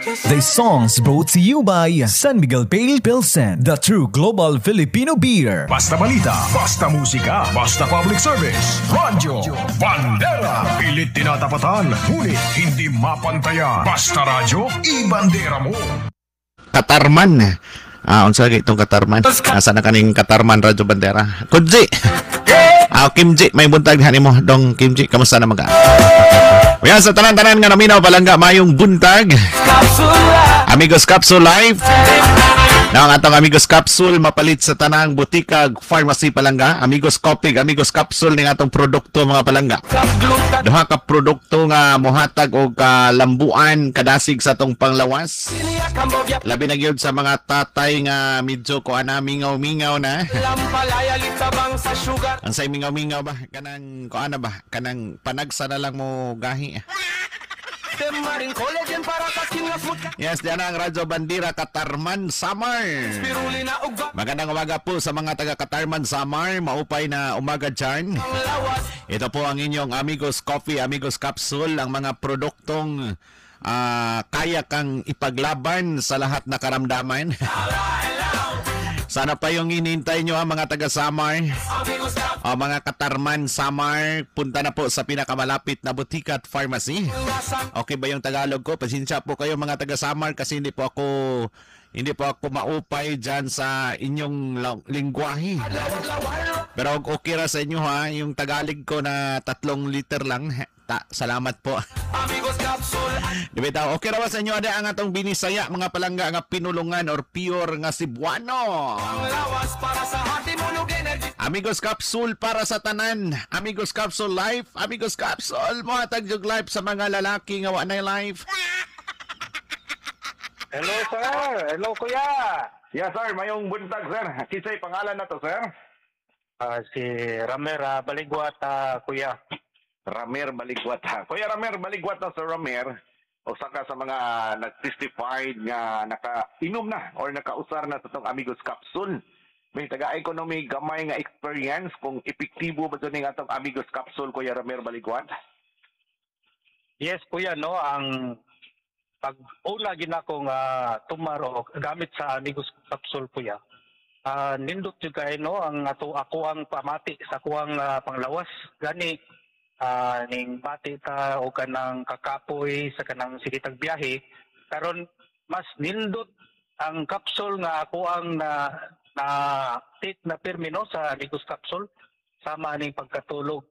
The songs brought to you by San Miguel Pale Pilsen, the true global Filipino beer. Basta balita, basta musika, basta public service. Radyo Bandera. Pilit tinatapatan, ngunit hindi mapantayan. Basta radyo, ibandera mo. Katarman. Ah, unsa gyud itong Katarman? Asa na kaning Katarman, Radyo Bandera? Kudji. Ah, Kimji, may buntag nimo dong Kimji, kamusta naman ka? Uya sa tanan-tanan nga naminaw, palangga, mayong buntag. Amigos Capsule Live. Na ang atong Amigos Capsule mapalit sa tanang butikag pharmacy, palangga. Amigos Coffee, Amigos Capsule ning atong produkto, mga palangga. Duha ka produkto nga mohatag og kalambuan, kadasig sa atong panglawas. Labi na gyud sa mga tatay nga medyo kuan na, mingaw-mingaw na. Ang say mingaw-mingaw ba? Kanang kuan na ba? Kanang panagsa na lang mo gahi. Yes, diyan ang Radyo Bandera Katarman, Samar. Magandang umaga po sa mga taga Katarman, Samar. Maupay na umaga dyan. Ito po ang inyong Amigos Coffee, Amigos Capsule, ang mga produktong kaya kang ipaglaban sa lahat na karamdaman. Sana pa yung hinihintay nyo, ha, mga taga Samar. O mga Katarman, Samar, punta na po sa pinakamalapit na butika at pharmacy. Okay ba yung Tagalog ko? Pasensya po kayo, mga taga Samar, kasi hindi po ako maupay dyan sa inyong lingwahe. Pero okay ra sa inyo ha, yung Tagalog ko na 3 liter lang. Ta, salamat po. Di ba daw, okay ra ba sa inyo ada ang atong binisaya, mga palangga, nga pinulungan or pure nga Cebuano? Amigos Capsule para sa tanan. Amigos Capsule Life, Amigos Capsule mohatag jug life sa mga lalaki nga wa nay life. Hello, sir. Hello, kuya. Yes, sir. Mayong buntag, sir. Kinsay pangalan na to, sir? Si Ramer Baligwat, kuya. Ramer Baligwat. Kuya Ramer Baligwat na, Sir Ramer. Usa ka sa mga nag-testified nga naka-inom na or nakausar na sa tong Amigos Capsule. May taga ko no may gamay nga experience kung epektibo ba ning atong Amigos Capsule, Kuya Ramer Baligwat. Yes, kuya, no, ang pag una ginako nga tumaro gamit sa Amigos Capsule, kuya. Nindot jud kay no ang ato ako ang pamati sa kuang panglawas. Gani ning bati ta o kanang kakapoy sa kanang sige tag biyahe karon, mas nindot ang capsule nga ako ang na na take na pirmi no sa Amigos Capsule sama ning pagkatulog.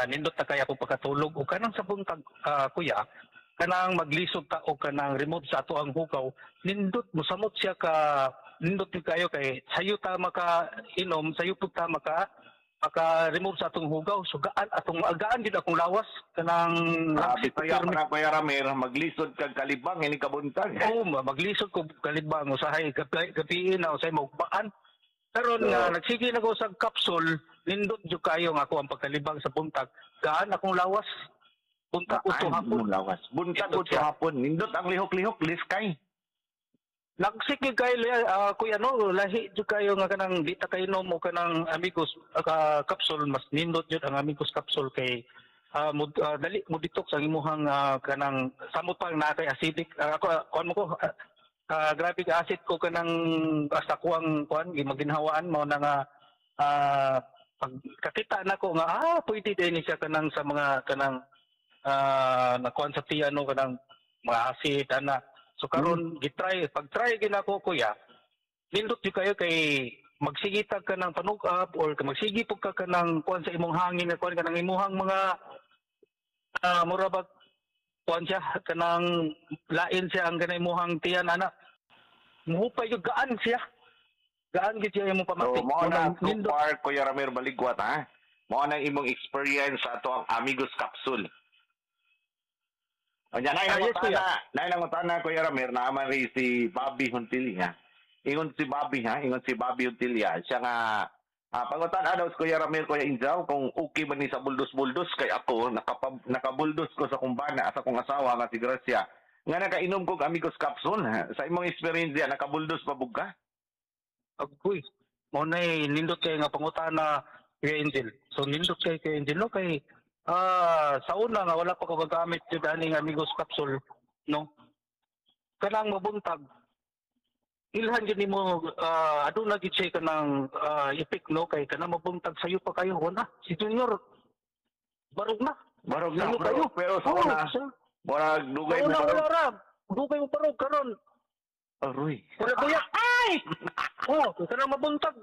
Nindot na kay ako pagkatulog o kanang sa buntag, kuya, kanang maglisod ta o kanang remove sa ato ang hugaw, nindot mosamot siya ka nindot gyud kayo kay sayo ta maka inom, sayo pud ta maka maka remove sa atong hugaw. So gaan atong agaan gid akong lawas kanang langsip Bisaya pirmi. Pa na, Kuya Ramer, maglisod kag kalibang ini kabuntag. Oo, maglisod ko kalibang usahay gabi, gabi na usahay maugmaan. Karon nga nagsige na ko sa capsule, nindot jud kayo nga ako ang pagkalibang sa buntag. Gaan akong lawas. Buntag uto Gaan hapon. mo lawas. Buntag Nindot uto siya. hapon. Nindot ang lihok-lihok, liskay. Nagsige kayo kuya no, lahi jud kayo nga kanang di ta kainom o kanang Amigos Capsule, mas nindot jud ang Amigos Capsule kay dali mo detox ang imuhang kanang samot pang naa kay acidic. Ako kuan mo ko grabe ka acid ko kanang basta kuang kuan gimaginhawaan mao na nga pag kakita nako nga pwede din ni siya kanang sa mga kanang nakuan sa tiyan no, kanang mga acid ana. So karon gitry, pag try ginako, kuya, nindot jud kayo kay magsigitag ka ng panug-up or magsigi pug ka kanang kuan sa imong hangin nga kuan kanang imuhang mga mura bag kuan siya kanang lain siya ang kanang imuhang tiyan ana, muhupay jud, gaan siya, gaan gid siya imong pamati. So, mao na Mao so nindot. far, Kuya Ramer Baligwat, ha? Mao na imong experience sa ato ang Amigos Capsule. O nya, Ah, yes, kuya. Nay nangutana, Kuya Ramer, naaman rin si Bobby Huntilia. Ingon si Bobby ha, ingon si Bobby Huntilia. Siya nga pangutan daw si Kuya Ramir, Kuya Injaw, kung okay ba ni sa buldos-buldos kay ako, nakabuldos ko sa kumbana sa akong asawa nga si Gracia. Nga nakainom kog Amigos Capsule. Ha? Sa imong experience diya, nakabuldos pa bug ka? Agoy. Mao na nindot kay nga pangutana, Kuya Angel. So nindot kay Kuya Angel no kay sa una nga wala pa ko gagamit jud aning Amigos Capsule no. Kanang mabuntag, ilhan gyud nimo, aduna gyud siya kanang effect, no, kay kanang mabuntag sayo pa kayo, wala si Junior, barog na. Barog na, Sayo pero, kayo. pero sa Oo, una, murag dugay sa mo una, barog. wala ra, dugay mo barog karon. Aroy. Wala, kuya. Ay! Oh, kanang mabuntag,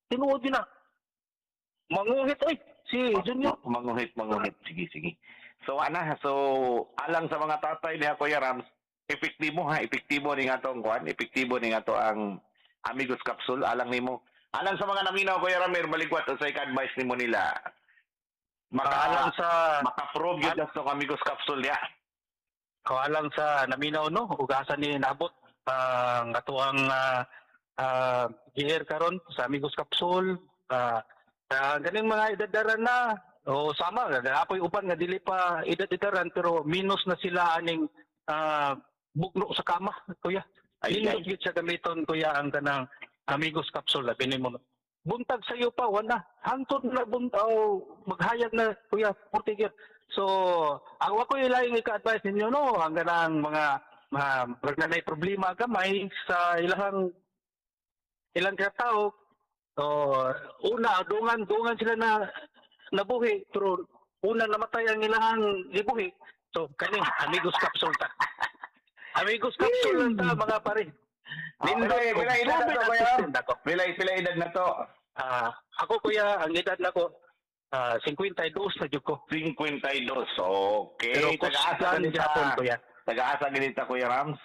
tinuod yun na. Manguhit oy si Junior. Manguhit, manguhit. Sige, sige. So, ana, so, alang sa mga tatay niya, Kuya Rams, epektibo ha, epektibo ni nga tong kuan, epektibo ni nga to ang Amigos Capsule, alang nimo. Alang sa mga naminaw, Kuya Ramir, baligwat, unsay ka-advice nimo nila? Maka, Alang sa maka-prove yun na tong Amigos Capsule niya. Oh, alang sa naminaw, no, ug asa ni naabot ang atoang GR karon sa Amigos Capsule, ganing mga edadaran na o sama ako'y uban nga dili pa edad-edaran pero minus na sila aning bugno sa kama, kuya. Ay, Nindot ay. gyud siya gamiton, kuya, ang kanang Amigos Capsule. Labi nimo buntag sa iyo pa wala, hangtod na buntag maghayag na, kuya, 40 gyud. So ang ako ilaing ika-advise ninyo, no, ang kanang mga mga pag na problema gamay sa ilahang ilang katao. So una dungan dungan sila na nabuhi pero una namatay ang ilahang gibuhi. So kani Amigos Capsule ta, Amigos Capsule lang ta, mga pare. Pila, pila edad na to, Kuya Ram? Ako. Pila, pila edad na to? Ako, kuya, ang edad nako 52 na jud ko. 52. Okay. Pero Taga-asa kusgan ganita. gyapon, kuya. Taga-asa ganita, Kuya Rams?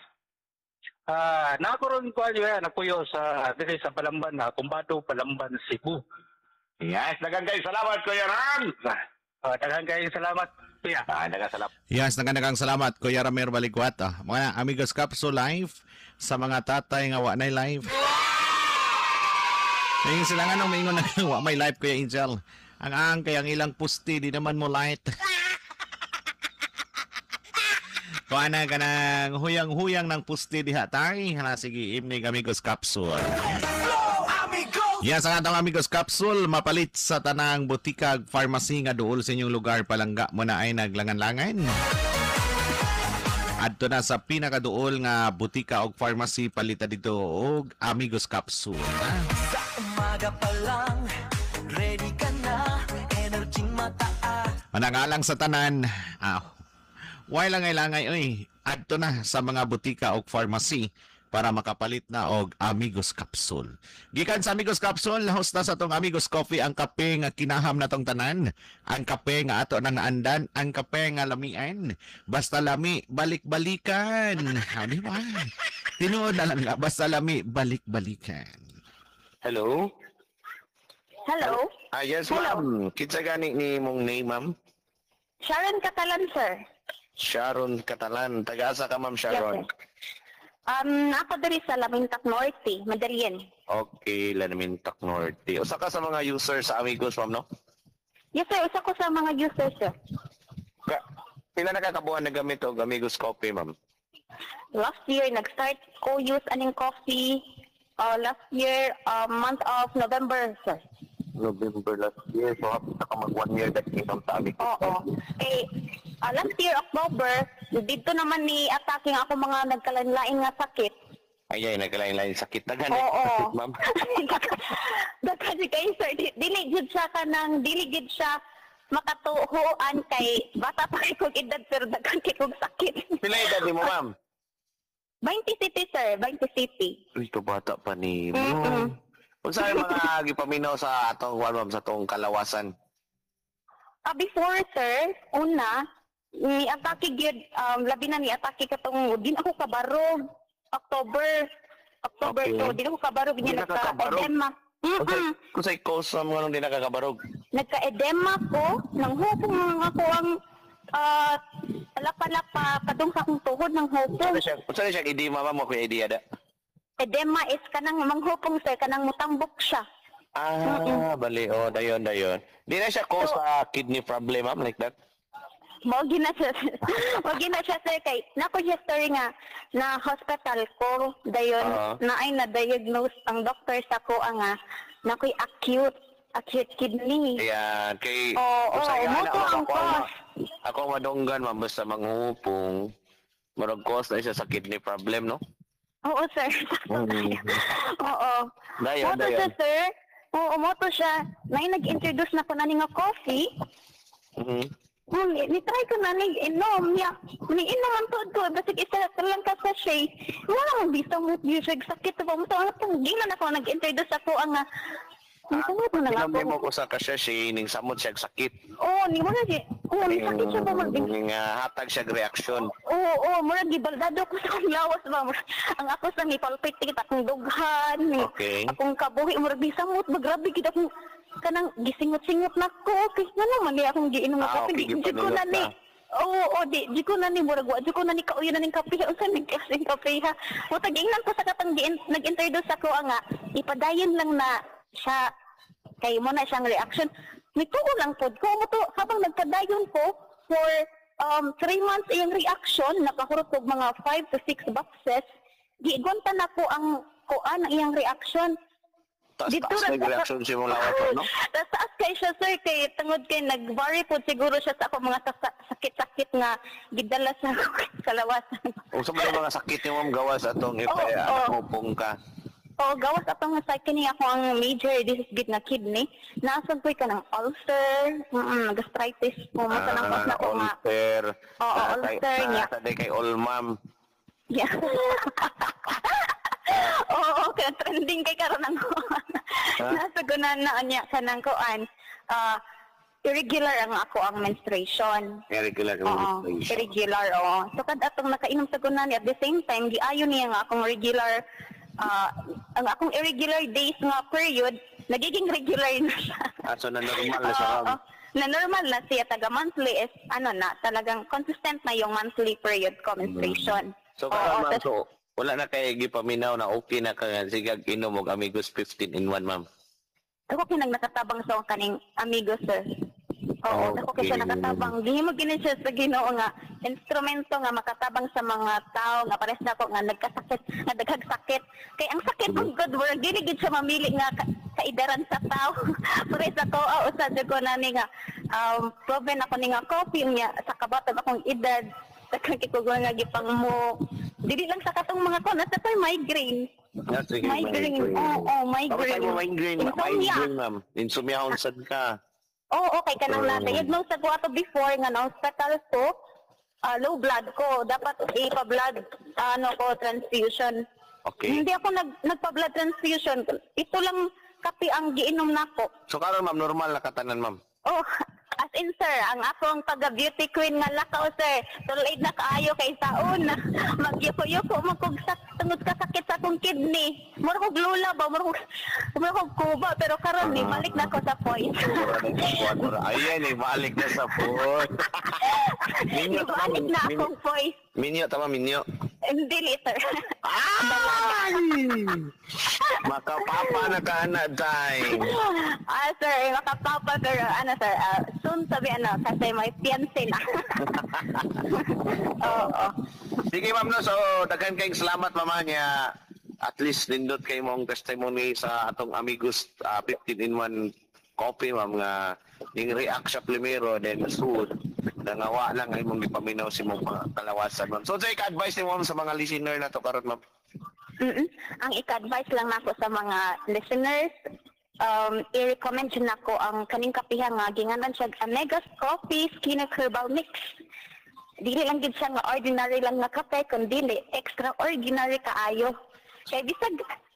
Nako ron ko kuya, nakuyo sa diri sa Palamban na Kumbado, Palamban, Cebu. Yes, daghang kayo salamat, Kuya Rams. Daghang kayong salamat, kuya. Daghang salamat. Yes, daghang salamat, Kuya Ramir Baligwat. Mga Amigos Capsule Live sa mga tatay nga wa nay live. Ngayon sila nga nung maingon na wa may live, Kuya Angel. Ang kay ang ilang pusti di naman mo light. Kuha na ka ng huyang-huyang ng pusti diha tay. Hala, sige, imnig Amigos Capsule. Yes, ang atong Amigos Capsule mapalit sa tanang butikag pharmacy nga duol sa inyong lugar, palangga mo na ay naglangan-langan. Adto na sa pinakaduol nga butika og pharmacy, palita dito og Amigos Capsule. Ha? Sa umaga pa lang, ready ka na, energy mataas. Manangalang sa tanan, why langay-langay oy, adto na sa mga butika og pharmacy para makapalit na og Amigos Capsule. Gikan sa Amigos Capsule, host na sa tong Amigos Coffee, ang kape nga kinaham na tong tanan, ang kape nga ato nang naandan, ang kape nga lamian. Basta lami, balik-balikan. Ha, di ba? Tinuod na lang nga, basta lami, balik-balikan. Hello? Hello? Yes, Hello. ma'am. Kinsa gani ni mong name, ma'am? Sharon Catalan, sir. Sharon Catalan. Taga-asa ka, ma'am Sharon? Yes, sir. Ako diri sa Lamintak Norte, Madalien. Okay, Lamintak Norte. Usa ka sa mga user sa Amigos, ma'am, no? Yes, sir. Usa ko sa mga users, sir. Pila na kakabuhan na gamit og Amigos Coffee, ma'am? Last year, nag-start ko use aning coffee. Last year, month of November, sir. November last year. So, hapit na ka mag 1 year that ma'am sa Amigos. Oo. Eh, last year, October, dito naman ni attacking ako mga nagkalain-lain nga sakit. Ay, ay, nagkalain-lain sakit. Daghan Oo. sakit, ma'am. Daghan kayo, sir. Dili jud siya kanang dili jud siya makatuhuan kay bata pa kay kog edad pero daghan kay kog sakit. Pila edad ni mo, ma'am? 20 City, sir. 20 City. Uy, ito bata pa ni mo. Unsa ay mga gipaminaw sa atong kuan, ma'am, sa atong kalawasan? Before, sir, una, ni atake gyud, labi na ni atake katong din ako kabarog October October 2, din ako kabarog Di niya na ka kabarog? nagka-edema. Unsay cause, ma'am, nganong di nakakabarog? Nagka-edema ko, nang hupong ako ang lapa-lapa padung sa akong tuhod ng hupong. Unsa na siya edema, ma'am, mo kuya idea da? Edema is kanang manghupong, sir, kanang mutambok siya. Ah, bali oh, dayon dayon. Di na siya cause sa kidney problem, ma'am, like that. Mao gina siya, sir, kay nako siya story nga na hospital ko dayon na ay na-diagnose ang doctor sa ko ang nga nakoy acute acute kidney. Ayan, kay Oo, usahay mo ana, to ma'am, ang ako ang cause. Ako ang madunggan, ma'am, basta manghupong. Murag cause na siya sa kidney problem, no? Oo, sir. Oo. Dayon, Moto siya, dayon. sir. Oo, moto siya. Nay nag-introduce na ko na ni nga coffee. Ni-try ko na ni inom niya. Ni inom ang tuod ko basig isa ka lang ka sachet. Wala man bisa mo gyud sakit ba mo to ang gilan ako nag-introduce ako ang nisamot mo na nga Inom ako. nimo ko sa kasya ning samot siya sakit. Oo, ni wala si. Oo, ni sakit siya ba mag Ning hatag siya reaksyon. Oo, oo, murag gibaldado ko sa akong lawas ba. Ang ako sa nipalpit akong dughan, ni Okay. akong kabuhi murag bisamot ba grabe gid akong kanang gisingot-singot na ko. Okay, ngano man di akong giinom nga kape, Okay, di di ko na gipaningot ni. ka. Oo, oo, di ko na ni murag wa di ko na ni kauyo na ning kape unsa ning klaseng kape ha. Mutag ingnan ko sa katang nag-introduce ako ang nga ipadayon lang na siya kay mo na siyang reaction. Nituo lang pod ko mo to habang nagpadayon ko for 3 months iyang reaction nakahurot og mga 5 to 6 boxes. Gigonta na ko ang kuan ang iyang reaction. Taas Dito taas ra na reaction si mong lawas, no? Taas taas kay siya, sir, kay tungod kay nag-vary po siguro siya sa ako mga sakit-sakit nga gidala sa kalawasan. Unsa man ang mga sakit ni ma'am gawas atong Oo, oo. ipay ka. Oo, gawas atong sa kini ako ang major disease gid na kidney. Naasad ko'y kanang ulcer, gastritis po, mo tanang pas na ko nga. Ulcer. Oo, ulcer niya. Nasa day kay all ma'am. Yeah. Oo, kaya trending kay karon ang kuan. Nasa gunan na niya kanang kuan. Irregular ang ako ang menstruation. Irregular Oo, menstruation. irregular, oo. So, kad atong nakainom sa gunan, at the same time, giayon niya nga akong regular, ang akong irregular days nga period, nagiging regular na siya. So na normal na siya, Oo, ma'am. na normal na siya, taga monthly is, ano na, talagang consistent na yung monthly period ko, menstruation. So Oo, karon ma'am, tas- so wala na kay gipaminaw na okay na ka nga sige inom og Amigos 15 in 1, ma'am. Ako kinang nakatabang sa akong kaning amigo, sir. Oo, ako Okay. kasi nakatabang. Gihimo gini siya sa Ginoo nga instrumento nga makatabang sa mga tao nga pares na ako nga nagkasakit, nga daghag sakit. Kay ang sakit ng good work dili gid siya mamili nga kaidaran sa tao. Pares ako usa jud ko nani nga proven ako ni nga coffee niya sa kabatag akong edad. Daghang kay ko nga gipang mo. Dili lang sa katong mga ko nasa ko'y migraine. Yeah, sige, Migraine. Oo, migraine. Bakit mo migraine? Insomnia. Migraine, ma'am. Insomnia unsad ka. Oo, okay ka nang Oo. na-diagnose ako ato before nga na hospital ko, low blood ko. Dapat ipa-blood ano ko transfusion. Okay. Hindi ako nagpa-blood transfusion. Ito lang kape ang giinom nako. So karon ma'am, normal na katanan, ma'am. Oh, as in sir, ang akong pagka-beauty queen nga lakaw sir, tuloy na kaayo kay saon. Magyuko-yuko man kog tungod ka sakit sa akong kidney. Mura kog lula ba, mura kog kuba, pero karon ni balik na ko sa point. Ayan eh, balik na sa point. Minyo, tama, Ibalik na akong voice. Minyo, tama, minyo. Hindi, sir. Ay! Makapapa na ka na, time. Sir, makapapa, pero ano, sir, soon sabi, ano, kasi may fiancé na. Oo. Sige, ma'am, no, so, daghan kayong salamat, mama niya. At least, nindot kay mong testimony sa atong Amigos 15-in-1 coffee, ma'am, nga ning react siya primero, then soon, nangawa lang ay mong gipaminaw si mong kalawasan, ma'am. So, sa ika-advise ni ma'am sa mga listener na to karon, ma'am? Ang ika-advise lang nako sa mga listeners, i-recommend yun nako ang kaning kapiha nga ginganan siya Amegas Coffee Skin Herbal Mix. Dili lang gid siya nga ordinary lang nga kape, kundi extraordinary kaayo. Kay bisag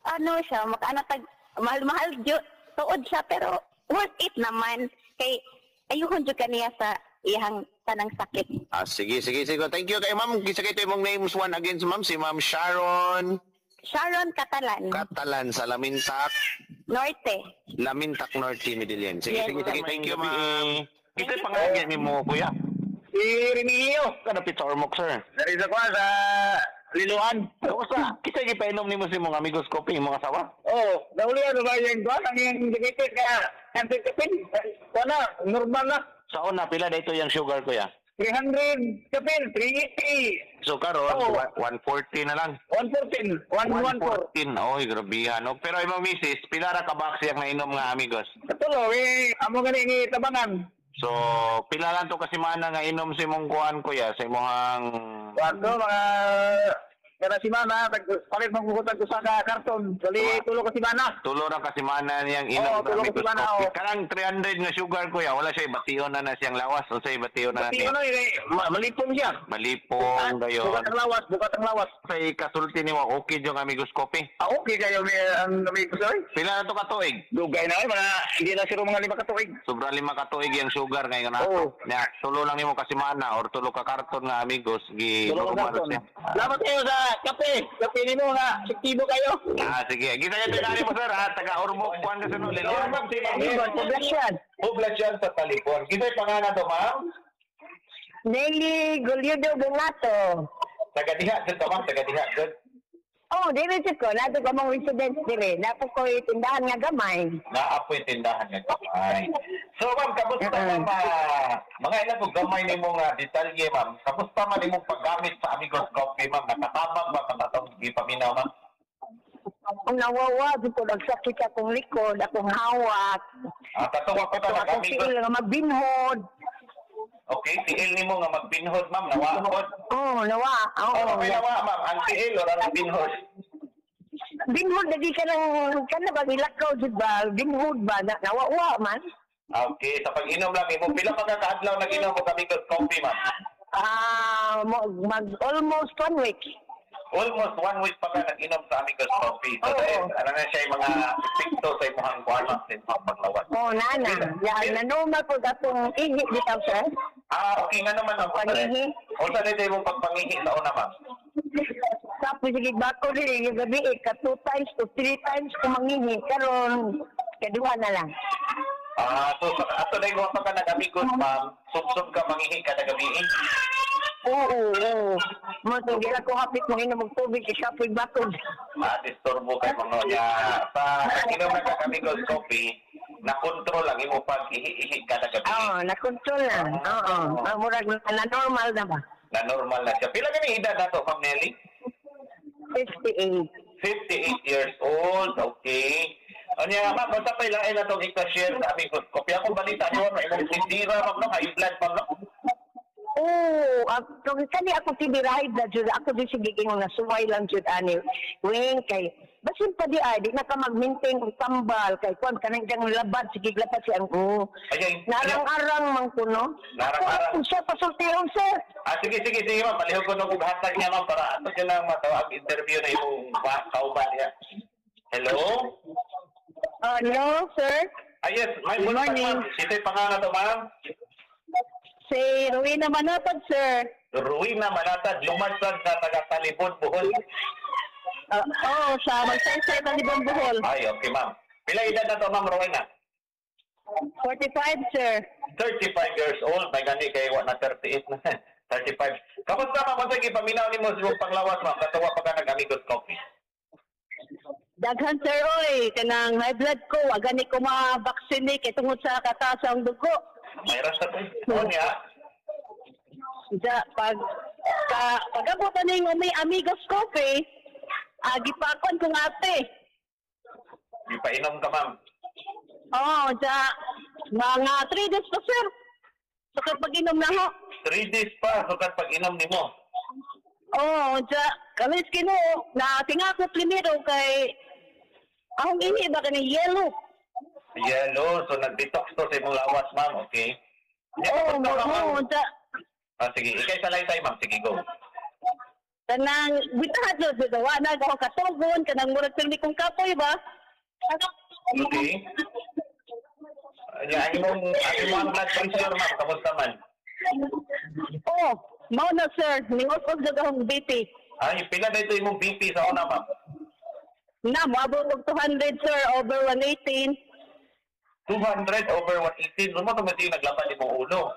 ano siya, makaano tag mahal-mahal jud tuod siya pero worth it naman kay ayuhon jud kaniya sa iyang tanang sakit. Sige, sige, sige. Thank you kay ma'am. Kisa kay imong names one again, ma'am, si Ma'am Sharon Sharon Catalan. Catalan sa Lamintak. Norte. Lamintak Norte, Medellin. Sige, Yes, sige, sige. Thank you, ma'am. Ito yung pangalan ni mo, kuya. Si Remigio. Kanapit sa Ormoc, sir. Dari sa kuha sa Liloan. Kamusta? Kisa gipainom nimo si mong amigos kopi, imong asawa? Oo, nahuli ano ba yung kuha? Ang iyang diabetes kaya anti-kapin. Kuha na, normal na. Sa una, pila na ito yung sugar, kuya? 300 kapin, 380. So karon, Oo. 140 na lang. 114, 114. 114. Oy, grabihan. No? Pero imong misis, pila ra ka box yang nainom nga amigos? Katulo, eh, amo gani ni tabangan. So, pila lang to kasi mana nga inom sa imong kuan, kuya, sa imong Wato, mga kada simana, palit magbuhutag ko sa ka karton. Dali, tulo ka simana. Tulo ra ka semana niyang inom Oo, sa tulo ka Amigos semana, Coffee. oo. Kanang 300 nga sugar, kuya, wala siya bation na na siyang lawas o say bation na na Pati niya. ano, eh, malipong siya. Malipong dayon. Bukat ang lawas, bukat ang lawas. Sa kasulti nimo okay yung Amigos Coffee. Ah, okay kayo may ang amigos oy. Pila na to ka tuig? Dugay na ay mga hindi na siro mga 5 ka tuig. Sobra 5 ka tuig yung sugar ngayon na. Oo. Nya, tulo lang nimo ka semana or tulo ka karton nga Amigos gi Tulo ka normal karton. siya. Salamat kayo sa kape. Kape nimo nga sektibo kayo. Ah, sige. Gisa yung tinari mo, sir, ha? Taga Ormoc, kuan ka sa Lilian. Ma'am, si Ma'am Amigos, poblasyon. Poblasyon sa Talibon. Gisa yung pangalan to, ma'am? Nelly Goliudo Bonato. Taga diha, jud ka, ma'am. Taga diha, jud. Oh, dili jud ko. Nato ko mong residence diri. Napo ko tindahan nga gamay. Naapoy tindahan nga gamay. So, ma'am, kamusta, ma'am? Mga ilan ko gamay nimo nga detalye, ma'am. Kamusta man imong paggamit sa Amigos Coffee, ma'am? Nakatabang ba katatong gipaminaw, ma'am? Ang nawawa, jud ko nagsakit akong likod, akong hawak. Ah, katuwa ko Ito ta akong nag-Amigos. tiil nga magbinhod. Okay, tiil nimo nga magbinhod, ma'am. Nawaod. Oh, nawa. Oo. Oh, may nawa, ma'am. Ang tiil or ang binhod? Binhod lagi ka ng kana ba ilakaw jud ba? Binhod ba na, nawawa man? Okay, sa pag-inom lang imo, pila pa ka kaadlaw nag-inom og Amigos Coffee, ma'am? Ah, mag almost 1 week. Almost 1 week pa ka nag-inom sa Amigos Coffee. So, Oo. dahil, ano na siya yung mga epekto sa imong kuan, ma'am, sa imong paglawas. Oh, nana. Ya, na normal po atong ihi bitaw, sir. Ah, okay nga naman, ma'am. Pangihi. Unsa na imong pagpangihi sa una, ma'am? Tapos sige bako dili yung gabi eh, ka 2 times to 3 times ko mangihi karon kaduha na lang. Ah, so sa ato na yung pa ka nag-Amigos, ma'am, sub-sub ka mangihi kada gabi. Oo, oo. Mo to gira ko hapit mo inom og tubig kay kapoy bakod. Ah, disturbo kay mga niya. Sa inom na ka Amigos Coffee, na-control ang imong pag-ihi-ihi kada gabi. Oo, na-control na. Oo. Ah, murag na normal na ba? Na normal na siya. Pila gani edad nato, Ma'am Nelly? 58. 58 years old, okay. Anya, ma'am, basta pa ilain na itong ika-share sa Amigos Coffee. Akong balita niyo, ma'am, imong tindira, ma'am, no? High blood, ma'am, no? Oo, kung kani ako tibirahay na jud ako di sige ingon nga suway lang jud ani. Weng kay basin pa di ay di na ka mag-maintain og tambal kay kuan kanang diyang labad sige labad si ang oo. Ay, Narang-arang man kuno. Narang-arang. Kung siya pasultihon, sir. Ah, sige, sige, sige, ma'am. Palihog ko nung hatag niya, ma'am, para ato siya lang matawag interview na imong kauban niya. Hello? Hello, sir. Ah, yes. May Good morning. Ma'am. Ito'y pangalan to, ma'am. Si Rowena Manatad, sir. Rowena Manatad, lumansad na taga Talibon, Bohol. Oo, sa Magsaysay, Talibon, Bohol. Ay, okay, ma'am. Pila edad na to, ma'am Rowena? 45, sir. 35 years old. May gani kay wa na 38 na. 35. Kamusta, ma'am? Unsa gipaminaw nimo sa imong panglawas, ma'am? Katuwa pa ka nag-Amigos Coffee. Daghan, sir, oy. Kanang high blood ko, wa gani ko ma-vaccine kay tungod sa kataas ang dugo. May rasa to. Oh, niya. Ja, pag ka, pag-abot na ning umi Amigos Coffee, gipakon kong ate. Gipainom ka, ma'am. Oo, ja, mga 3 days pa, sir. Sukad pag-inom na ho. 3 days pa, sukad pag-inom nimo. Oo, ja, kalis Ginoo, na tinga ko primero kay akong ihi ba kani yellow. Yellow, so nag-detox to sa imong lawas, ma'am, okay? Oo, oo, ja. Ah, sige, ikay salaysay, ma'am. Sige, go. Kanang bitahat jud wa na ako katugon kanang murag pirmi kong kapoy ba. Okay. Nya, ang imong blood pressure, ma'am, kamusta man? Oh, mao na sir, ningos-os jud akong BP. Ay, pila na ito imong BP sa una, ma'am? Na, moabot og 200 sir over 118. 200 over 118. Doon mo tumating naglabad imong ulo.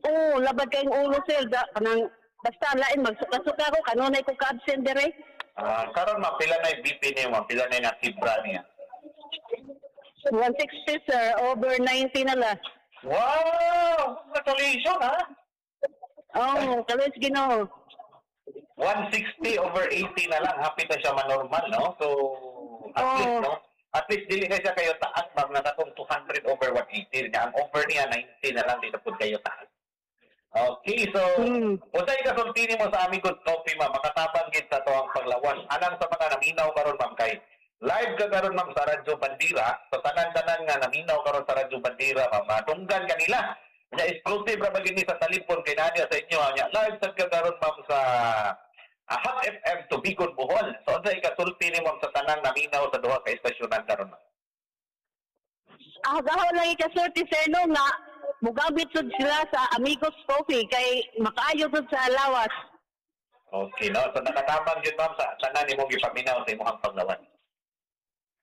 Oo, labad kayong ulo sir. Da, kanang basta lain magsuka-suka ko kanunay ko ka-absent dire. Ah, karon ma'am, pila na yung BP niya, ma'am? Pila na yung nakibra niya? 160 sir, over 90 na lang. Wow! Congratulations, ha? Oo, oh, kalis Ginoo. 160 over 80 na lang. Happy na siya manormal, no? So, at least, no? At least dili na siya kayo taas, ma'am, na katong 200 over 180 niya. Ang over niya 90 na lang, di na pud kayo taas. Okay, so unsay kasulti nimo sa Amigos Coffee, ma'am? Makatabang gid sa atoang panglawas. Anang sa mga naminaw karon, ma'am, kay live ka karon, ma'am, sa Radyo Bandera. So tanan-tanan nga naminaw karon sa Radyo Bandera, ma'am, madunggan kanila. Nya exclusive ra ba gini sa talipon kay naa sa inyo nya. Live sad ka karon, ma'am, sa Hot FM Tubigon, Bohol. So unsay kasulti nimo, ma'am, sa tanang naminaw sa duha ka estasyonan karon, ma'am? Ah, gaho lang ikasulti, sir, no, nga mugamit sud sila sa Amigos Coffee kay makaayo sud sa lawas. Okay, no? So nakatabang jud, ma'am, sa tanan nimong gipaminaw sa imong panglawas.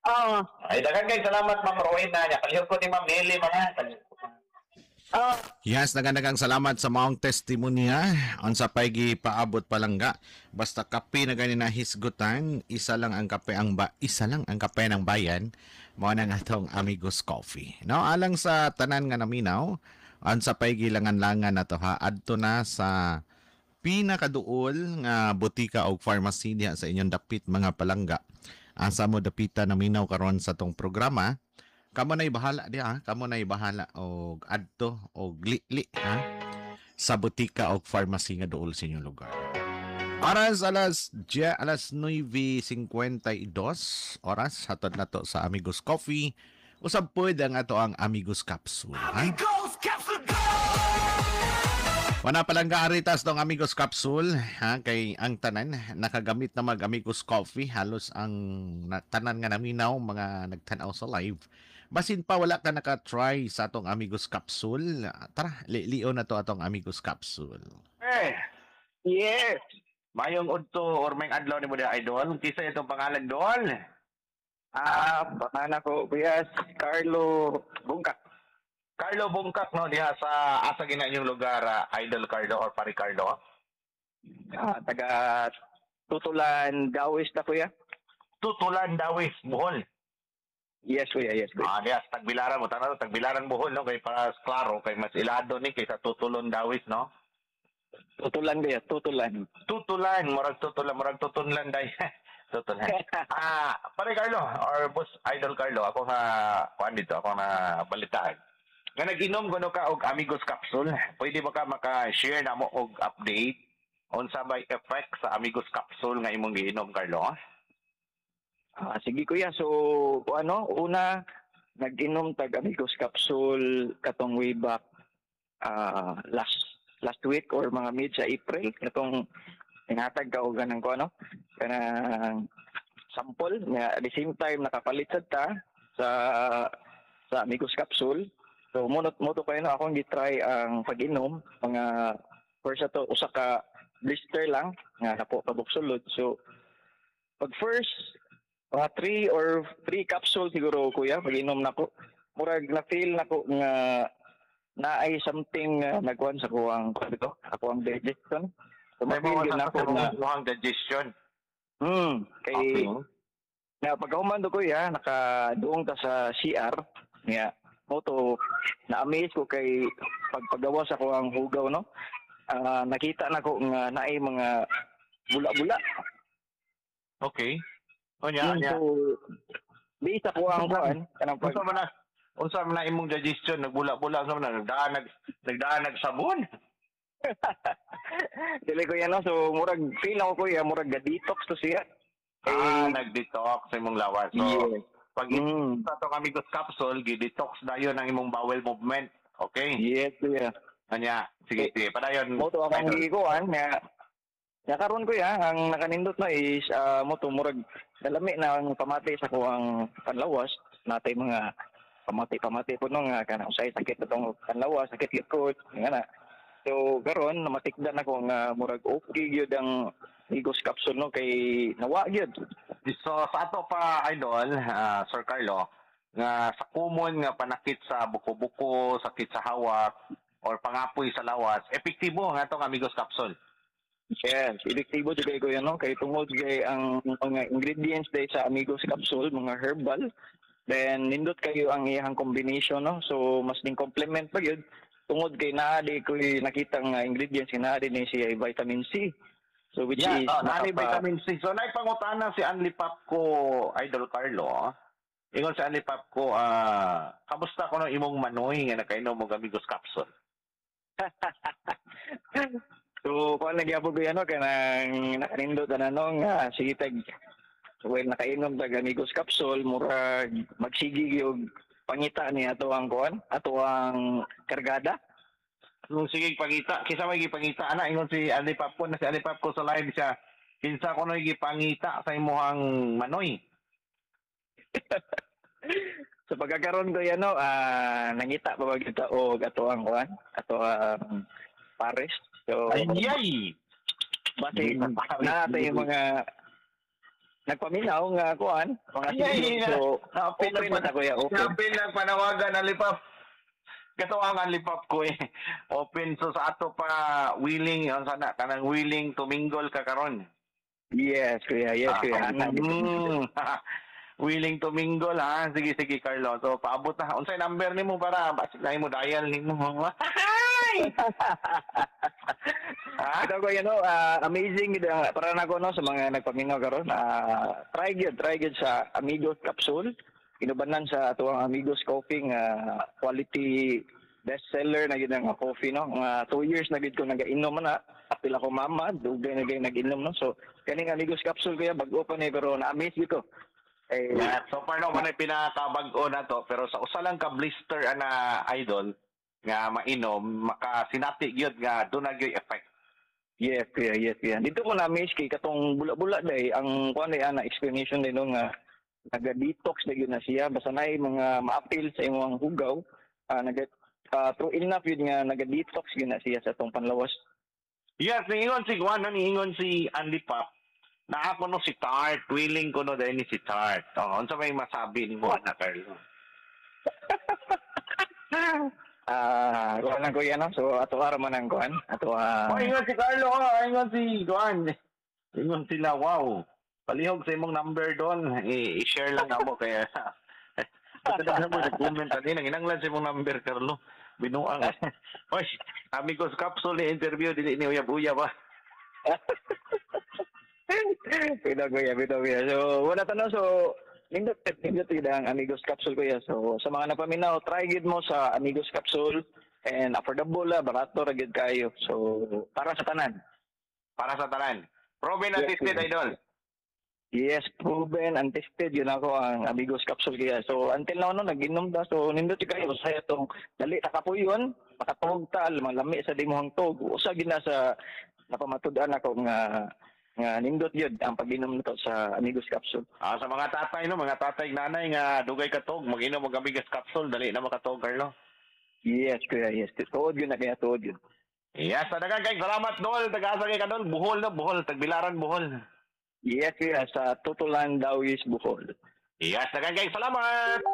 Oo. Ay, daghan kay salamat, Ma'am Rowena. Nya palihog ko ni Ma'am Nelly mga. Oo. Yes, daghang salamat sa maong testimonya. Unsa pay gipaabot palangga. Basta kape na gani na hisgutan, isa lang ang kape ng bayan. Mao na nga atong Amigos Coffee. No, alang sa tanan nga naminaw, unsa pay gilangan-langan na to ha, adto na sa pinakaduol nga botika og pharmacy diha sa inyong dapit, mga palangga. Asa mo dapita naminaw karon sa tong programa, kamo na'y bahala diha, kamo na'y bahala og adto og li-li ha sa botika og pharmacy nga duol sa inyong lugar. Oras alas 9:52 oras, hatod na to sa Amigos Coffee. Usab pud ang ato ang Amigos Capsule. Ha? Wana palangga, aritas tong Amigos Capsule ha, kay ang tanan nakagamit na mag Amigos Coffee, halos ang tanan nga naminaw, mga nagtan-aw sa live. Basin pa wala ka naka-try sa atong Amigos Capsule, tara, lilio na to atong Amigos Capsule. Eh, Yes. mayong udto or may adlaw nimo diha, idol. Kinsa itong pangalan, dol? Ah, pangalan ko, kuya, Carlo Bungkak. Carlo Bungkak, no, diha sa asa gina inyong lugar, Idol Carlo or Pare Carlo? Ah, taga Tutulan, Dawis na, kuya. Tutulan, Dawis, Bohol. Yes, kuya, yes, kuya. Ah, diha sa Tagbilaran mo tanaw, Tagbilaran, Bohol, no, kay para klaro kay mas ilado ni kaysa Tutulon Dawis, no? Tutulan, kuya, Tutulan. Tutulan, murag tutulan, murag tutunlan day. Tutulan. Ah, Pare Carlo or Boss Idol Carlo, ako nga kuan dito, ako na balitaan nga nag-inom kuno ka og Amigos Capsule. Pwede ba ka maka-share na mo og update unsa may effect sa Amigos Capsule nga imong giinom, Carlo? Ah, sige, kuya. So, ano, una, nag-inom tag Amigos Capsule katong way back last last week or mga mid sa April katong tinatag ka og ganang ko ano kanang sample nga at the same time nakapalit sad ta sa Amigos Capsule. So munot mo to kayo no, akong gi-try ang pag-inom mga first ato usa ka blister lang nga napo kabuk sulod. So pag first mga three or three capsule siguro, kuya, pag inom nako, murag na feel nako nga naay something nagkuan sa kuang dito, ako ang digestion. So May ma-feel mga yun nako na ang digestion. Kay na pagkahuman do, kuya, nakaduong ta sa CR nga mo to na-amaze ko kay pagpagawas ako ang hugaw, no, nakita nako nga naay mga bula-bula. Okay. Unya, unya. So based ako ang kuan kanang pag Unsa man na imong digestion nagbula-bula, unsa man na nagdaan nagsabon? Dili ko yan, no? So murag feel ako, kuya, murag ga-detox to siya. Ah, Eh, nag-detox sa imong lawas. So pag sa atong Amigos Capsule, gi-detox dayon ang imong bowel movement. Okay? Yes, kuya. Anya, sige, sige. Padayon. Mo to akong Idol. gikuan nga nga karon, kuya, ang nakanindot na is mo to murag nalami na ang pamati sa kuang panlawas natay, mga pamati-pamati po no nga kanang usay sakit atong panlawas, sakit likod nga na. So karon namatikdan ako nga murag okay gyud ang Amigos Capsule, no, kay nawa gyud. So sa ato pa, idol, Sir Carlo, nga sa common nga panakit sa buko-buko, sakit sa hawak or pangapoy sa lawas, epektibo ang atong Amigos Capsule. Yes, epektibo jud kay kuya, no, kay tungod kay ang mga ingredients day sa Amigos Capsule mga herbal. Then nindot kayo ang iyang combination, no. So mas ning complement pa gyud tungod kay naa di ko nakita nga ingredients nga naa din ni siya ay vitamin C. So which Yeah, is oh, naay nakapa- vitamin C. So naay pangutana si Anli Pap ko, Idol Carlo. Ingon sa Andy Pop ko, kamusta ko no imong manoy nga nakainom og Amigos Capsule? So, kuan lagi ako, kuya, no, kanang nakanindot na no, nga sige tag well nakainom tag Amigos Capsule, murag magsige og pangita ni ato ang kuan, ato ang kargada. Nung sige pangita, kinsa may gipangita ana? Ingon si Andy Pop ko na si Andy Pop ko sa live siya. Kinsa ko no gipangita sa imuhang manoy? Sa pagkakaroon ko yan, no, nangita pa ba kita og ato ang kuan, ato ang pares. So, Ay, ay! Base na yung mga nagpaminaw nga kuan, mga Ay, ay, so Naapil open na ta, kuya, open. Naapil lang panawagan ang lipap. Kato ang lipap ko eh. Open so sa ato pa willing ang sana kanang willing to mingle ka karon. Yes, kuya, yes, kuya. Willing to mingle ha. Sige, sige, Carlo. So paabot na. Unsay number nimo para basig na imo dial nimo? Ha? Ito ko no, amazing gid para nako no sa mga nagpaminaw karon. Try gyud sa Amigos Capsule. Inubanan sa atuang Amigos Coffee nga quality bestseller na gid ang coffee no. Nga 2 years na gid ko nagainom na. Apil ako mama, dugay na gid nag-inom no. So kaning Amigos Capsule kuya bag-o pa ni pero na-amaze gid ko. Eh, Yeah, so far no man ay pinakabag-o na to pero sa usa lang ka blister ana idol nga mainom makasinati gyud nga doon na gyud effect. Yes, kuya, yes, kuya. Dito ko na-amaze kay katong bula-bula day ang kuan day ana explanation day no nga naga-detox na gyud na siya basta naay mga maapil sa imong hugaw, naga true enough yun nga naga-detox gyud na siya sa atong panlawas. Yes, niingon si Juan, no, niingon si Andy Pop. Na ako no si Tart, willing ko no dahil ni si Tart. Oh, unsa may masabi nimo ana, Carlo? Kuan lang kuya no. So ato ara man ang kuan, ato Oh, ingon si Carlo, oh, ingon si Juan. Ingon sila, wow. Palihog sa imong number doon. I-share lang namo kaya. Basta daghan mo nag-comment ani nang inanglan sa imong number, Carlo. Binuang. Oy, Amigos Capsule ni interview dili ni uyab-uyab ah. Bitaw kuya, bitaw kuya. So wala ta no, so nindot nindot gid ang Amigos Capsule kuya. So sa mga napaminaw, try gid mo sa Amigos Capsule and affordable la, barato ra gid kayo. So para sa tanan. Para sa tanan. Proven and Yes, tested, kuya. Idol. Yes, proven and tested yun ako ang Amigos Capsule kaya. So until now no nag-inom ta. So nindot kayo sa itong dali ta kapuyon, makatuog ta, malami sa dimuhang tog. Usa gid na sa napamatud-an ako nga nga nindot yun ang pag-inom nito sa Amigos Capsule. Sa mga tatay no, mga tatay nanay nga dugay katog, mag-inom og Amigos Capsule dali na makatog, Carlo. Yes, kuya, yes. Tuod yun na kaya, tuod yun. Yes, daghang kay salamat dol, taga-asa kay kadol, Bohol no, Bohol, tagbilaran Bohol. Yes, kuya, sa Tutulan Dawis, Bohol. Yes, daghang kay salamat.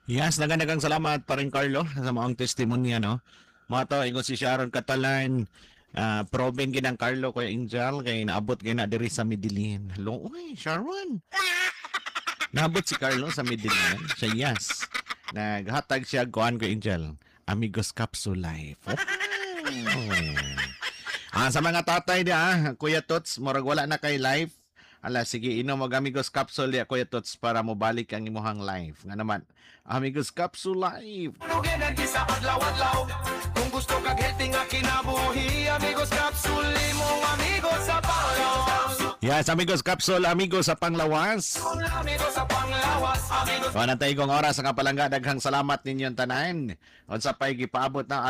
Yes, daghang salamat pa rin Carlo sa maong testimonya no. Mga to ingon si Sharon Catalan, proven gid ang Carlo Kuya Angel kay naabot kay na diri sa Medellin. Hello, uy, Sharon. Naabot si Carlo sa Medellin. Siya yes. Naghatag siya kuan ko Angel. Amigos Capsule Life. Oh. Sa mga tatay dia, Kuya Tots, murag wala na kay life. Ala, sige, inom og Amigos Capsule dia, Kuya Tots, para mobalik ang imuhang life. Nga naman, Amigos Capsule Life. Energy sa adlaw-adlaw. Kung gusto kag healthy nga kinabuhi, Amigos Capsule imong amigos sa panglawas. Yes, Amigos Capsule, amigos sa panglawas. Amigos sa panglawas, amigos. Wala tayo kong oras nga palangga. Daghang salamat ninyong tanan. Unsa pa'y gipaabot na alang